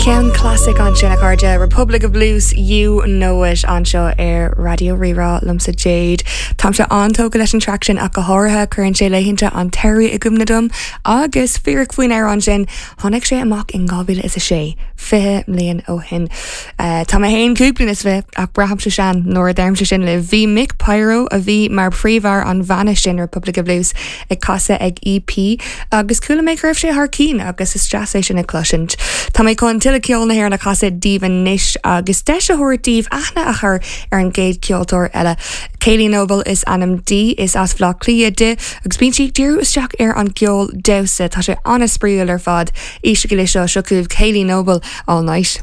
Ceann clasaiceach ansin a chairde, Republic of Blues, You Know It anseo ar Raidió Rí-Rá liomsa Jade. Táimse an-tógtha leis an traic sin ach go háirithe, cuireann sé laethanta an tsamhraidh i gcuimhne dom agus fíric faoin amhrán sin, tháinig sé amach in 2006, 20 mbliain ó shin. Tá mé féin 25 bliain ach braithimse sean nuair a deirimse sin libh. Bhí Mick Pyro, a bhí mar phríomhfhear an bhanna sin Republic of Blues, ag casadh ag EP agus chuala mé go raibh sé thar cinn agus is deas é sin a chloisint. Tá mé chun tuilleadh ceol na hÉireann a chasadh daoibh anois agus deis a thabhairt daoibh aithne a chur ar an gcéad cheoltóir eile. Kayleigh Noble is ainm di, is as Bhaile Átha Cliath di agus bíonn sí ag díriú isteach ar an gceol damhsa. Tá sé an-spraíúil ar fad. Éistigí leis seo, seo chugaibh Kayleigh Noble, All Night.